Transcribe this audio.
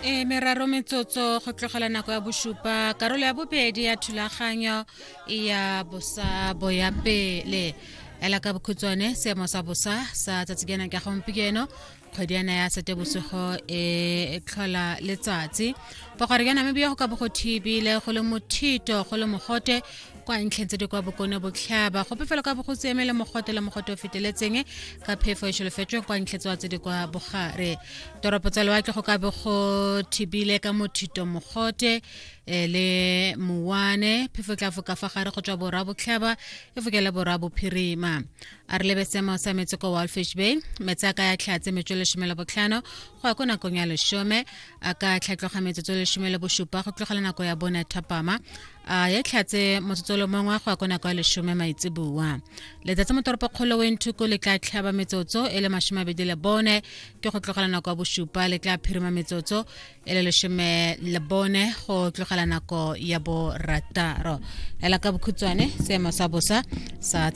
E meraro metsotso go tlogela nako ya bosupa, karolo ya bobedi ya thulaganyo ya bosa bo ya pele. Ela ka bokhutshwane seemo sa bosa sa tsatsi kena ka gompieno, kgwedi yana ya Setebosigo e tlhola letsatsi. Bogare jwa Namibia go ka bo go thibile, go le mothito, go le mogote kwa ntlheng tse di kwa bokone botlhaba. Gope fela ka bo go siame le mogote le mogote o feteletseng ka phefo e solofetsweng kwa ntlheng tsewa tse di kwa bogare. Toropo tsa lewatle go ka bo go thibile ka mothito, mogote le mowane. Phefo e tla foka fa gare go tswa borwa botlhaba e fokele borwa bophirima. A re lebe seemo sa metsi ko Walfish Bay. Metsi a ka ya tlhatse metsotso 15 go ya ko nakong ya 10, a ka tlhatloga metsotso 17 go tlogela nako ya 4 thapama, a ya tlhatse motsotso le mongwe go ya ko nako ya 10 maitseboa. Letsatsi mo toropokgolo Windhoek le tla tlhaba metsotso e le 24 ke go tlogela nako ya 7, le tla phirima metsotso e le 14 go tlogela nako ya 6. Ela ka bokhutshwane seemo sa bosa sa.